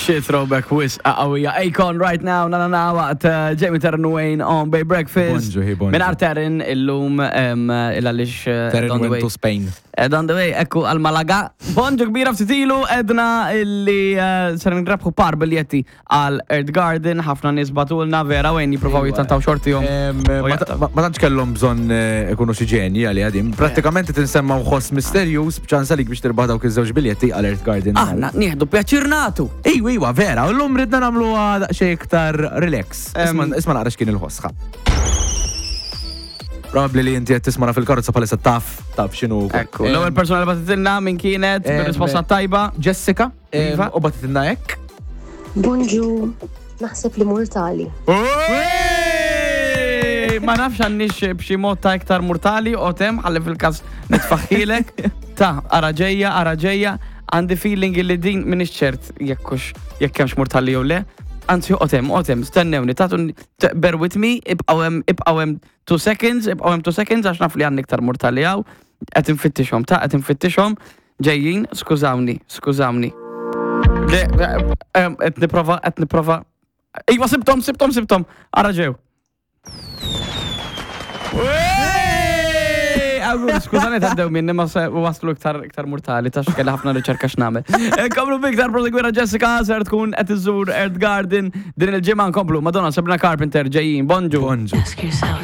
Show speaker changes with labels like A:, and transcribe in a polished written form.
A: Xi throwback wisq qawwija. Akon right now, na na na waqt eh, Jamie Terran Wayne on Bay Breakfast.
B: Bonġu, hi, bonġu.
A: Minn Terran illum il għaliex eh,
B: Terran
A: on the
B: went
A: way.
B: to Spain.
A: Ed on the way, ekku għal Malaga. Bonġu kbira ftit ilu edna illi eh, ser ngrabħu par biljetti għal Earth Garden, ħafna nies batulna vera wejn jippruvaw jittantaw xortihom.
B: Ma tantx kellhom bżonn eh, ikunu xi ġenji għalli għadim. Prattikament tinsemma ħoss misterjuż b'ċans għalik biex tirbaħ dawk iż-żewġ biljetti għal Earth Garden.
A: Aħna nieħdu pjaċir nagħtu.
B: Ejwa, iwa, vera, u llum ridna nagħmluha daqsxejn iktar relax. Isma' naqra x'kien il-ħoss. Probabbli li inti qed tismana fil-karozza bħalissa taf taf x'inhu.
A: Ekku, l-ewwel persuna li batitilna min kienet bir-risposta tajba.
B: Jessica,
A: Iva.
B: u batitilna hekk.
C: Bonġu, naħseb li mortali.
A: Ma nafx għandix b'xi mod ta' iktar mortali o tem ħalli fil-każ nitfaħħilek. Ta' ara ġejja, ara ġejja, għandi feeling li din minix ċert jekkux jekk hemmx mortali jew le. Anzi, otem, otem, stennewni, tatu bear with me, ibqgħu hemm, ibqgħu hemm 2 seconds, ibqgħu hemm 2 seconds għax naf li għandi iktar mortali hawn. Qed infittixhom, ta' qed infittixhom. Ġejjin, skużawni, skużawni. Le, qed nipprova, qed nipprova. Iva, sibtom, sibtom, sibtom. Ara ġew. Skużani ta' dew minni ma se waslu iktar iktar mortali ta' xkelli ħafna riċerka x'nagħmel. Nkomplu biktar prosegwira Jessica ser tkun qed iżżur Earth Garden din il-ġimgħa nkomplu Madonna Sabrina Carpenter ġejjin. Bonġu.
B: Bonġu.
C: Ask yourself.